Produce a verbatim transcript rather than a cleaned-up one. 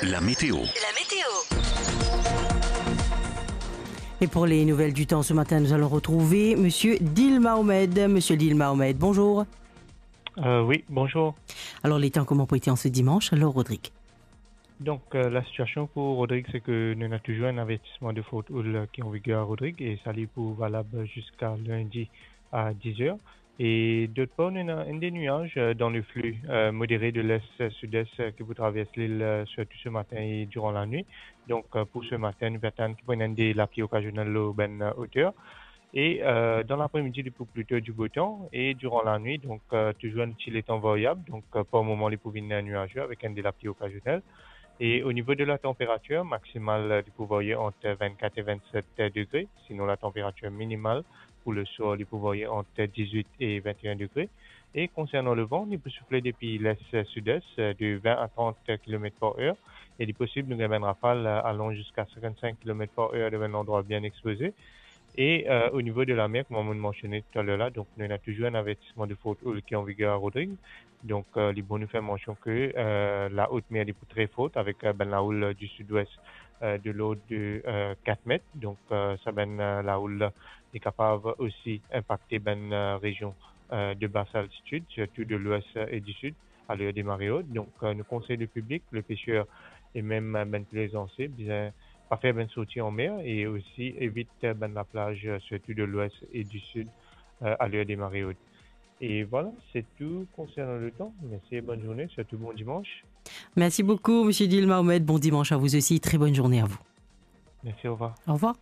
La météo. La météo. Et pour les nouvelles du temps ce matin, nous allons retrouver Monsieur Dil Mahomed. Monsieur Dil Mahomed, bonjour. Euh, oui, bonjour. Alors, les temps, comment pour été en ce dimanche, alors, Rodrigue ? Donc, euh, la situation pour Rodrigue, c'est que nous avons toujours un avertissement de forte houle qui est en vigueur à Rodrigue et ça, il est pour valable jusqu'à lundi à dix heures. E dot par, nou ena enn de nwaz, euh, dan le flux, euh, modéré de l'est, euh, sud-est, euh, ki pou travers lil, euh, sirtou se matin e diran lanwit. Donk, euh, pou se matin, nou pe atann ki pou ena enn de lapli okazionel lor bann, euh, oter. E, euh, dan lapre-midi, li pou plito di bo tan. E diran lanwit, donk, euh, touzour enn ti letan variab. Donk, euh, par moman, li pou vinn, euh, nwaze avek enn de lapli okazionel. E o nivo de la tanperatir, maksimal, euh, li pou varye ant vennkat e vennset degre. Sinon, la tanperatir minimal pou le swar, li pou varye ant dizwit e vennteen degre. E konsernan le van, li pou soufle depi les sud-est, euh, de vin a trant kilomet par er. E li posib nou gagn bann rafal, euh, alan ziska sinkant-sink kilomet par er dan bann landrwa bien expoze. E, euh, o nivo de lamer, kouma mo mansione toutalor la, donk nou ena touzour enn avertisman de forte houle ki an viger a Rodrig. Donk, euh, li bon nou fer mansion ke, euh, la haute mer li pou tre fort avek, euh, bann lahoul, euh, di sid-wes, euh, de lord de, euh, kat met. Donk, euh, sa bann, euh, lahoul la, li kapav osi inpakte bann, euh, rezion, euh, de bas altitid, sirtou de lwes, euh, e di sid, a ler de mare ot. Donk, euh, nou konsey le piblik, le peser e mem, euh, bann plezanse, bizin pa fer bann sorti an mer e osi evit, euh, bann laplaz, euh, sirtou de lwes e di sid, euh, a ler de mare ot. E vwala, se tou konsernan le tan. Mersi e bonn zourne, sirtou bon dimans. Merci beaucoup, Monsieur Dil Mahomed. Bon dimanche à vous aussi. Très bonne journée à vous. Mersi, orevwar. Au revoir.